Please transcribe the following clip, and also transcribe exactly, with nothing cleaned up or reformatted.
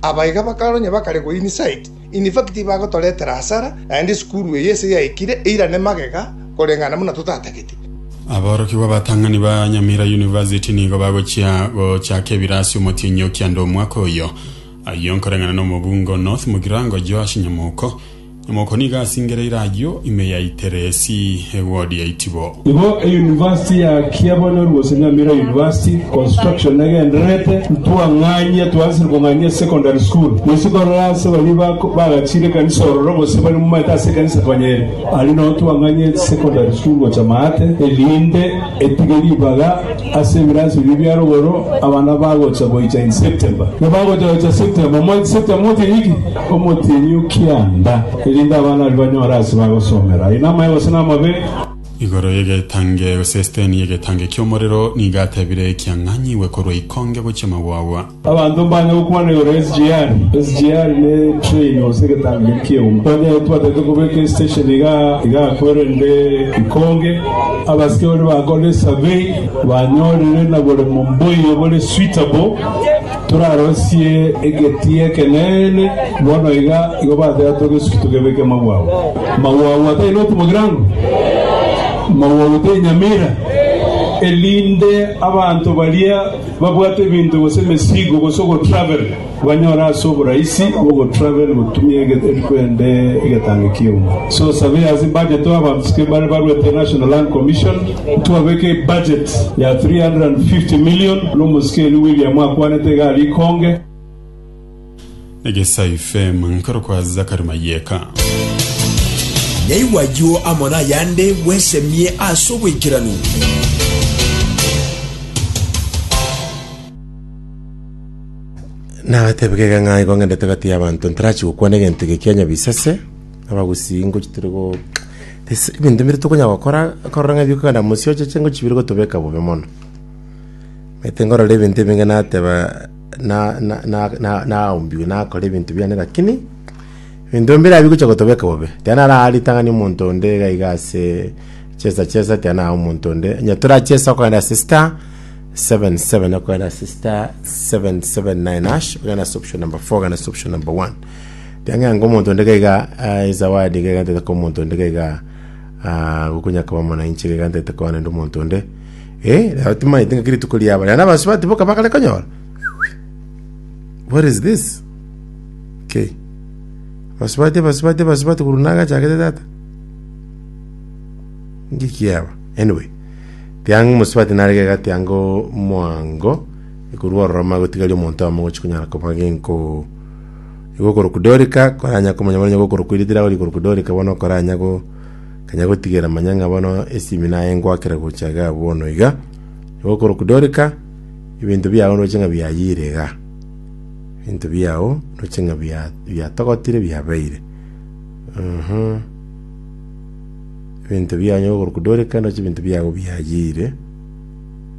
Abaiga bakaronya bakare go inside. In fact bagotoretera hasara naende esukuru eye ase yaikire eirane magega koreng'ana buna totatagete. Aborokigwa abatang'ani ba Nyamira University nigo bagochia gochaka ebirasi omotienyi okianda omwaka oyo. Ayio nkoreng'ana na omobungo North Mugirango Joash Nyamoko. Nyamoko nigo asingereire ayio ime ya Iteresi eward ya Itibo. Igo eyunivasiti ya Kiabonyoru gose Nyamira University construction negendererete ntwang'anyia twansire kong'anyia secondary school moise korora ase baria bagachire ekanisa ororo gose bari momaete ase ekanisa konyere aria noo twang'anyie secondary school gocha maate erinde etige ribaga ase ebirasi biria bia rogoro abana bagocha goicha in September na bagocha goicha September mo September motienyi ki omotienyi okianda erinde abana baria banyore ase bagosomera aye namaye gose namabe. Igoro yegetange gose esteni yegetange ki'omorero nigo atebire ekiang'anyiwe korwa ikonge gochia magwagwa. Abanto mbanye gokwana igoro ya S G R. S G R ne train gose egetange ki'euma. Onye twatete kobeka estation iga iga kwerende ikonge abasike bari bakore survey banyorire na bore momboyo bore suitable turarosie egeti ekenene bono iga igo bateba togesuki togebeke magwago magwago atai noti Mugirango magwago te Nyamira elinde abanto baria babwate ebinto gose emesigo gose ogotravel banyora ase oborahisi bwogotravel gotumia erikwende egetange ki'euma. So surveyors budget abantu sike bari barwete National Land Commission twabeke budget ya three hundred fifty million n'omusikeri William akwanete gari ikonge. Egesa F M nkoro kwa Zakari Mayeka. Nyaigwa amo nayande bwesemie ase obwekiranu. Nabatebekega ng'a igo ng'endete gati ya abanto ntarachi gokwana egento eke kia nyabisese abagusii ngochi turi go This- ebinto mbire tokonya gokora korora ng'a bikogenda mosiocheche ngochi bire gotobeka bobe mono maete ngorora ebinto ebinge nateba na na na na naombiwe nakora ebinto biane lakini ebinto mbire bigocha gotobeka bobe tiana arari ritang'ani omonto onde iga iga ase chesa chesa tiana omonto onde onye torachesa okogenda ase star seven seven okogenda ase star seven seven nine hash ogenda ase option number four ogenda ase option number one tiang'anga omonto onde gaiga uh, ezawadi gaiga ntete ko omonto onde gaiga uh, gokonya koba mwananchi gaiga ntete koba nende omonto onde eh rero timaete ng'aki rituko riaba rero nabasubati boka bakare konyora. What is this? Okay, basubati abasubati abasubati korwa nagachakete tata ngikiaba. Anyway, tianga omusubati nare gaiga tianga mwango ekorwa ororo magotigaria omonto amo gochi konyara koba genko igo korwa Dorika koranya komanya bono gokorwa kwiritira ori korwa Dorika bono koranya go kanya gotigera manya ng'a bono esimi naye ngwakera gocha iga bono iga igo korwa Dorika ebinto biago noche ng'a biayire iga ebinto biago noche ng'a bia- biatogotire biabeire Mhm. Ebinto biago nyo korwa Dorika noche ebinto biago biayire.